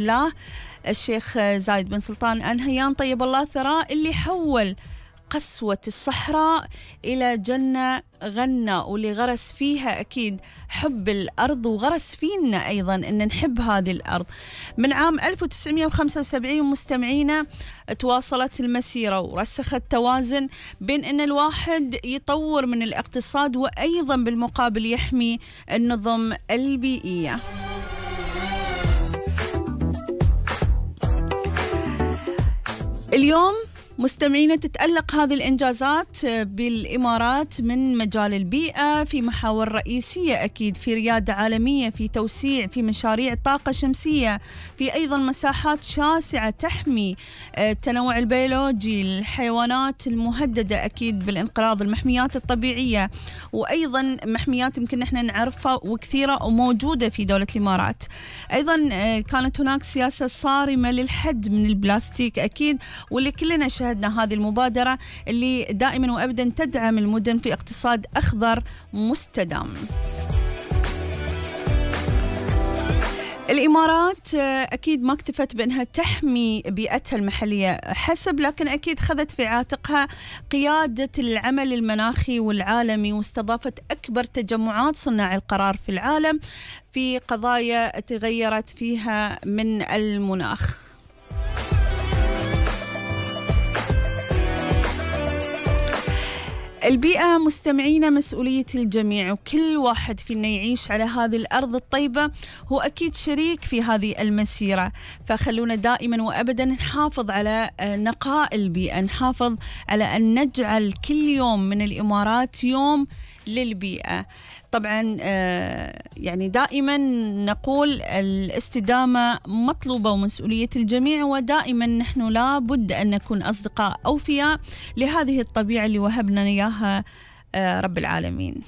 الله الشيخ زايد بن سلطان آل نهيان طيب الله ثراه، اللي حول قسوة الصحراء إلى جنة غنى، واللي غرس فيها أكيد حب الأرض، وغرس فينا أيضا أن نحب هذه الأرض. من عام 1975 مستمعينا تواصلت المسيرة ورسخت توازن بين أن الواحد يطور من الاقتصاد وأيضا بالمقابل يحمي النظم البيئية. اليوم مستمعينا تتألق هذه الإنجازات بالإمارات من مجال البيئة في محاور رئيسية، أكيد في ريادة عالمية، في توسيع في مشاريع طاقة شمسية، في أيضا مساحات شاسعة تحمي التنوع البيولوجي، الحيوانات المهددة أكيد بالانقراض، المحميات الطبيعية، وأيضا محميات يمكن نحن نعرفها وكثيرة وموجودة في دولة الإمارات. أيضا كانت هناك سياسة صارمة للحد من البلاستيك أكيد، واللي كلنا شاهدنا هذه المبادرة اللي دائما وأبدا تدعم المدن في اقتصاد أخضر مستدام. الإمارات أكيد ما اكتفت بأنها تحمي بيئتها المحلية حسب، لكن أكيد خذت في عاتقها قيادة العمل المناخي والعالمي، واستضافت أكبر تجمعات صناع القرار في العالم في قضايا تغيرت فيها من المناخ. البيئة مستمعين مسؤولية الجميع، وكل واحد فينا يعيش على هذه الأرض الطيبة هو أكيد شريك في هذه المسيرة، فخلونا دائما وأبدا نحافظ على نقاء البيئة، نحافظ على أن نجعل كل يوم من الإمارات يوم للبيئة. طبعا يعني دائما نقول الاستدامة مطلوبة ومسؤولية الجميع، ودائما نحن لا بد أن نكون أصدقاء أوفياء لهذه الطبيعة اللي وهبنا إياها رب العالمين.